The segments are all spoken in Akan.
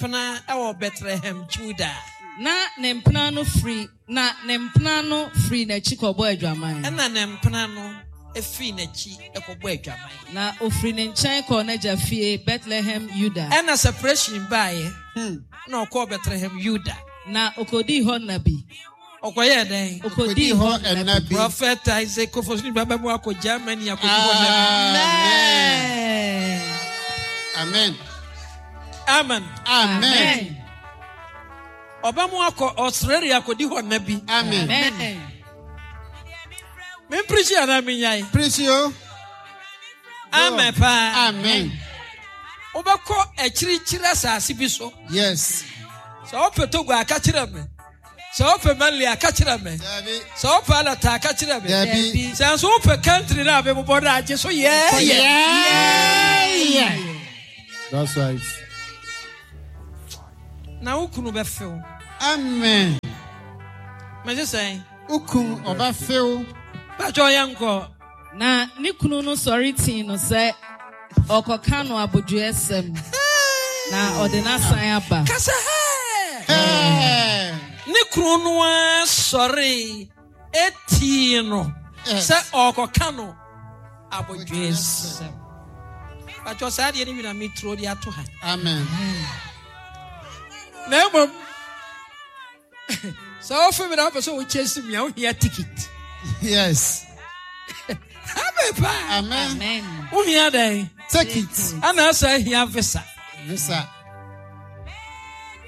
mpena wɔ Bethlehem, Juda. Na ne mpena no firi na ne mpena no firii n'akyi kɔbɔɔ adwaman. Ɛnna ne mpena no firii n'akyi kɔbɔɔ adwaman. Na ɔfirii ne nkyɛn kɔɔ n'agya fie, Bethlehem Yuda. Ɛnna separation baeɛ, na ɔkɔɔ Bethlehem Yuda. Na ɔkɔdii hɔ nna bi. Ɔkɔyɛɛ dɛn? Ɔkɔdii hɔ nna bi. Prophet Isaac Kofosu ba bɛmu akɔ Germany akɔdi hɔ nna bi. Amen. Amen. Amen. Ɔbɛmu akɔ Australia akɔdi hɔ nna bi. Amen. Mempirikyi anaa menyae? Pirikyi o. Amen paa. Amen. Wobɛkɔ akyirikyiri asase bi so. Yes. Sɛ wopɛ Togo a ka kyerɛ me. Sɛ wopɛ Mali a ka kyerɛ me. Sɛ wopɛ Alata a ka kyerɛ me. Sɛ nso wopɛ country no a mebobɔ no agye so yɛɛyɛ. Yeah. That's right. Na wo kunu bɛfew. Amen. Mɛgye sɛn? Wo kunu ɔbɛfew. Bàtchɛ ɔyɛ nkɔ. Na ne kunu no sɔre tii no sɛ ɔrekɔka no abodwoeɛsɛm, na ɔde no asan aba. Ka sɛ, Hɛɛ! Ne kunu no ara sɔre tii no sɛ ɔrekɔka no abodwoeɛsɛm. Patwɔ saa deɛ no bi na meturo de ato ha. Amen. Na mmom sɛ wofe me na wopɛ sɛ wokyɛ si me a wohia ticket. Yes. Amen paa. Amen. Wohia dɛn? Ticket. Ana sɛ hia visa. Visa.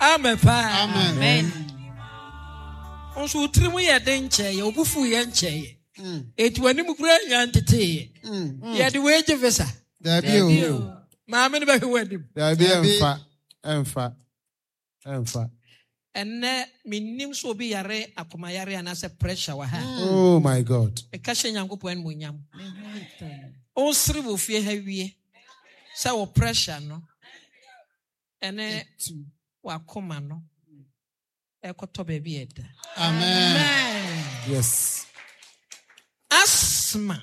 Amen paa. Amen. Nso wo tirim yɛ den nkyɛeɛ, wo bo fu yɛ nkyɛeɛ. Eti w'anim kura nya nteteeɛ. Yɛde wei gye visa. Dabi o. Maame no bɛhwɛ w'anim. Dabi ɛmfa ɛmfa. Ɛmfa. Ɛnnɛ, mennim sɛ obi yare akomayare anaasɛ pressure wɔ ha. Oh my God. Meka hyɛ Nyankopɔn animuonyam. Wosere wɔ fie ha wie sɛ wo pressure no ɛne w'akoma no ɛkɔtɔ baabi ɛda. Amen. Yes. Asthma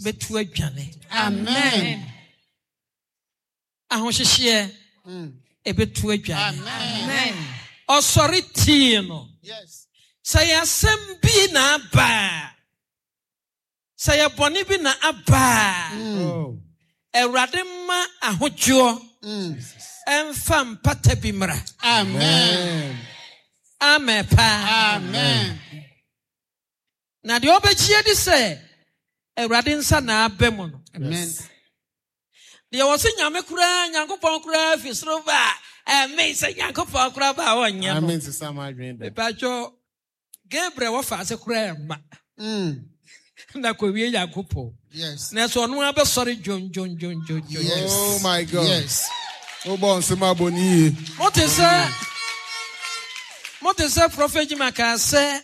bɛtu adwane. Amen. Ahohyehyeɛ ɛbɛtu adwane. Ɔsɔre tii no. Sɛ yɛ asɛm bi na aba a, sɛ yɛ bɔne bi na aba a, oh. Awurade mma ahodwoɔ ɛmfa mpata bi mmra. Amen. Amen paa. Amen. Na deɛ ɔbɛgye adi sɛ Awurade nsa na aba mu no. Amen. Deɛ wɔ se Nyame koraa, Nyankopɔn koraa fi soro ba a, ɛme sɛ Nyankopɔn koraa ba a ɔnyɛ no. Amen sesa m'adwene da. Mepatwɔ, Gabriel wɔ faase koraa ɛmma. Na kɔwie Nyankopɔn. Yes. Na ɛsɛ ɔno ara bɛsɔre dwondwondwondwondwon. Yes. Oh my God. Yes. Wobɔ nsɛm abɔ ne yie. Mote sɛ mote sɛ Prɔfɛt Jima kaa sɛ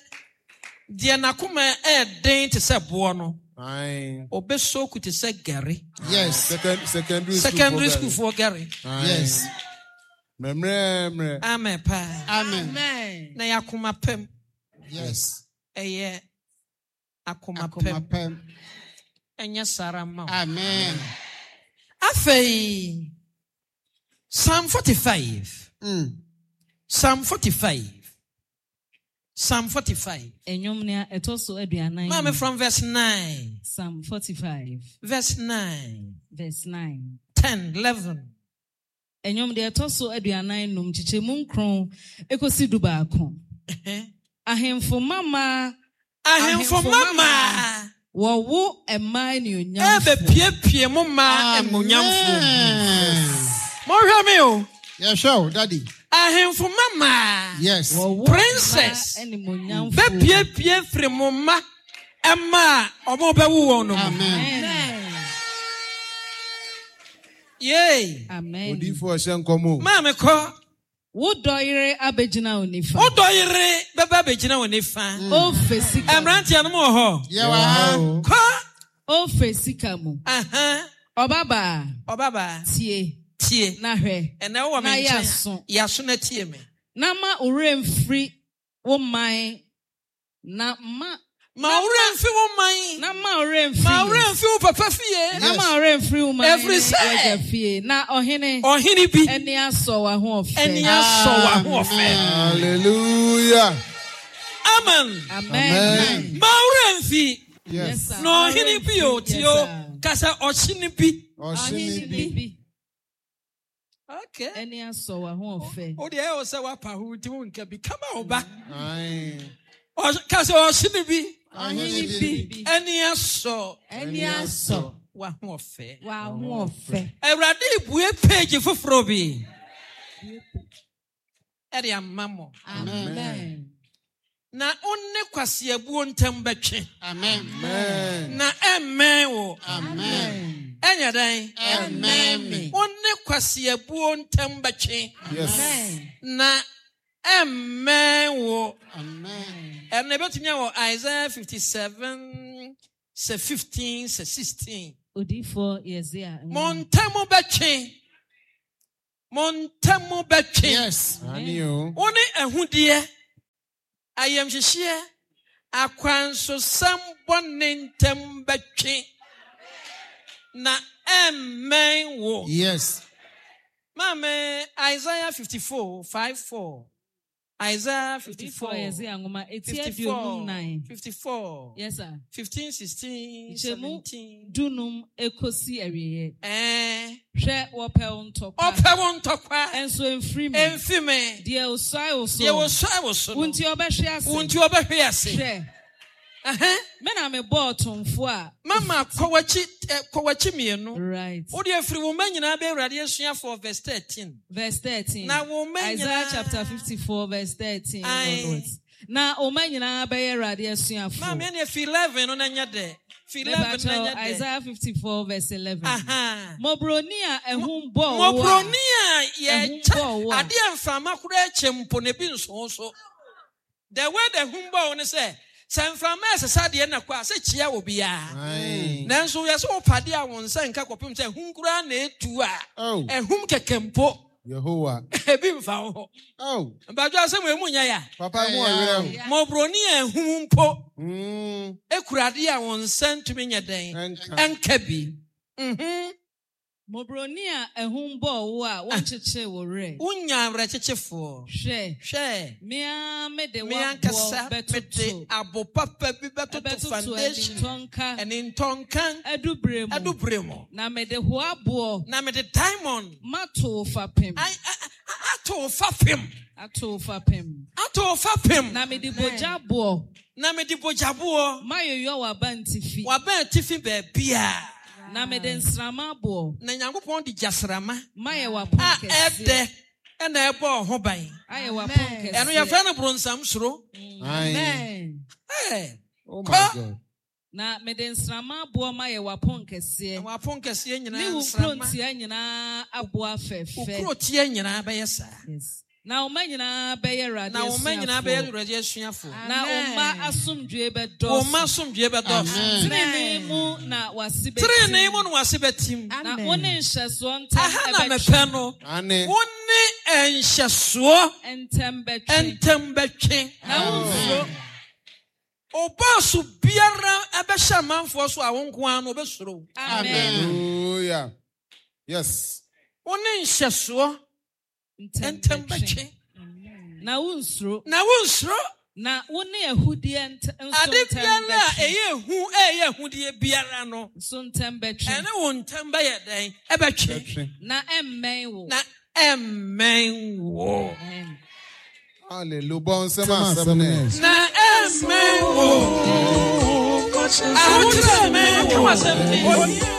Deɛ n'akoma yɛ den te sɛ boɔ no, ɔbɛsoku te sɛ gari. Yes. Secondary Secondary school foɔ gari. Yes. Mmerɛmmerɛ. Amen paa. Amen. Na yɛ akoma pɛm. Yes. Ɛyɛ akoma Akoma pɛm. pɛm. Ɛnyɛ saa mma wo. Amen. Afei, Psalm 45. Psalm 45. Psalm 45. Nnwom nea ɛtɔ so aduanan Maame from verse 9. Psalm 45. Verse 9. Verse 9. 10, 11. Nnwom deɛ ɛtɔ so 45 nkyekyɛmu nkron ekosi 11. Ahemfo mama. Ahemfo mama. Wɔwo mmaa anuonyamfoɔ. Ɛbɛpiepie mo mmaa anuonyamfoɔ. Monhwɛ me o. Yɛhwɛ o, daddy. Ahemfo mama. Yes. Wɔwo Princess. mmaa animuonyamfoɔ. Bɛpiepie firi mo mma mma a wɔn bɛwo wɔn no mu. Amen. Yay. Amen. Odiyifoɔ hyɛ nkɔm o. Maame kɔ. Wo dɔ yere abɛgyina wo nifa. Wo dɔ yere bɛba abɛgyina wo nifa. Ofe sika mu. Mmeranteɛ no mo wɔ hɔ. Yɛwɔ ha. Kɔ. Ofe sika mu. Ɔbabaa. Ɔbabaa. Tie. Tie. Na hwɛ. Ɛnɛ wowɔ me Na nkyɛn. yɛ aso. Yɛ aso na tie me. Na ma wo werɛ mfiri wo man na ma. Ma wo werɛ mfi wo man. Na ma wo werɛ mfiri. Ma wo werɛ mfi wo papa fie. Na ma wo werɛ mfiri wo man Ɛfiri sɛ. w'agya fie. Na ɔhene. Ɔhene bi. Ani asɔ w'ahoɔfɛ. Ani asɔ w'ahoɔfɛ. Hallelujah. Amen. Amen. Ma wo werɛ mfi. Yes. Na ɔhene bi o tie o kasa ɔhyene bi. Ɔhyene bi. Okay. Ɛni asɔ w'ahoɔfɛ. O deɛ ɛwɔ sɛ wapa ho nti wo nka bi kama wo ba. Aye. Kasa ɔhyene bi. Ɔhene bi. Ɛni asɔ. Ɛni asɔ. W'ahoɔfɛ. W'ahoɔfɛ. Awurade bue page foforɔ bi. Ɛde ama mo. Amen. Na wo ne kwaseabuo ntam bɛtwe. Amen. Amen. Na ɛmmɛn wo. Amen. Ɛnyɛ dɛn? Ɛmmɛn me. Wo ne kwaseabuo ntam bɛtwe. Yes. Na ɛmmɛn wo. Amen. Ɛno ɛbɛtumi awɔ Isaiah 57 sɛ 15 sɛ 16. Odiyifoɔ Yesaia. Mo ntam bɛtwe. Mo ntam bɛtwe. Yes. Ani o. Wo ne ahudeɛ, ayamhyehyeɛ, akwansosɛm bɔne ntam bɛtwe. Na ɛmmɛn wo. Yes. Maame, Isaiah 54, 5, 4. Isaiah 54. Odiyifoɔ Yesaia nwoma eti 54, 54. 54. Yes sir. 15, 16, Nkyɛmu 17. 15 ekosi awieɛ. Ɛɛ. Hwɛ wɔpɛ wo ntɔkwa. Ɔpɛ wo ntɔkwa. Ɛnso emfiri me. Emfi me. Deɛ osuae wo so. Deɛ osuae wo so no. Wo nti ɔbɛhwe ase. Wo nti ɔbɛhwe ase. Hwɛ. Ɛhɛn. Me na me bɔɔ tomfo a. Mama kɔ w'akyi kɔ w'akyi mmienu. Right. Wo deɛ firi wo mma nyinaa bɛ Awurade asuafoɔ verse 13. Verse 13. Na wo mma Isaiah nyinaa. chapter 54 verse 13. Aye. Onwards. Na wo mma nyinaa bɛyɛ Awurade asuafoɔ. Maame ɛne fi 11 no na nyɛ dɛ. Fi 11 na nyɛ dɛ. Isaiah 54 verse 11. Aha. Mmɔborɔni a ɛhum bɔɔ wo a. Mmɔborɔni a yɛkyɛ adeɛ mframa koraa kyɛ mpo na ebi nso so. The way the hum bɔɔ wo ne sɛ sɛ mframa ɛsesa deɛ na kɔ a sɛ kyia wɔ biara. Nanso yɛ sɛ wopa deɛ a wo nsa nka kɔpem sɛ hum koraa na etu a. Ɛhum kɛkɛ mpo. Yehowa. Ebi mfa wo ho. Oh. Mbadwo asɛm emu nyɛ ya. Papa mu ɔwerɛ ho. Mmɔborɔni a ɛhum mpo. Ekura adeɛ a wo nsa ntumi nyɛ dɛn. Ɛnka bi. Mhm. Mmɔborɔni a ɛhum bɔɔ wo a wɔnkyekyere wo werɛ. Wonya awerɛkyekyefoɔ. Hwɛ. Hwɛ. Mea mede Me w'aboɔ ankasa bɛtoto. mede abo papa bi bɛtoto Ɛbɛtoto foundation. ɛnintɔnka. Ɛnintɔnka. Adubere mu. Adubere mu. Na mede hoaboɔ. Na mede diamond. Mato wo fapem. Ato wo fapem. Ato wo fapem. Ato wo fapem. Na mede bogyaboɔ. Na mede bogyaboɔ. Mayoyɔ w'abantifi. W'abantifi baabia. Na mede nsrama aboɔ. Na Nyankopɔn de gyasrama. Mayɛ w'apon A kɛseɛ. ɛdɛ ɛna ɛbɔ ho ban. Ayɛ w'apon kɛseɛ. Ɛno yɛfrɛ no bronsam soro. Amen. Hey. Oh my God. Na mede nsrama aboɔ mayɛ w'apon kɛseɛ. W'apon kɛseɛ nyinaa Ne wo nsrama. kurotia nyinaa aboa fɛfɛ. Wo kurotia nyinaa bɛyɛ saa. Yes. Na wo mma nyinaa bɛyɛ Awurade Na wo mma nyinaa bɛyɛ asuafoɔ. Awurade asuafoɔ. Na wo mma asomdwoe bɛdɔɔso. Wo mma asomdwoe bɛdɔɔso. Tenenee mu na w'ase bɛtim. Tenenee mu na w'ase bɛtim. Na wo ne nhyɛsoɔ ntam Aha na ɛbɛtwe. mepɛ no. Ane. Wo ne nhyɛsoɔ Ntam bɛtwe. ntam bɛtwe. Na wo nsuro. Ɔbaaso biara ɛbɛhyɛ amanfoɔ so a wo nko ara no ɔbɛsuro. Amen. Hallelujah. Yes. Wo ne nhyɛsoɔ ntam bɛtwe. Na wo nsuro. Na wo nsuro. Na wo ne ahudeɛ nso Ade ntam biara a bɛtwe. ɛyɛ ehu ɛyɛ ahudeɛ biara no. Nso ntam bɛtwe. Ɛne wo ntam bɛyɛ dɛn? Ɛbɛtwe. Bɛtwe. Na ɛmmɛn wo. Na ɛmmɛn wo. Amen. Hallelujah. Bɔ nsɛm asɛm ne. Na ɛmmɛn wo. Ahokyerɛ mmɛn wo.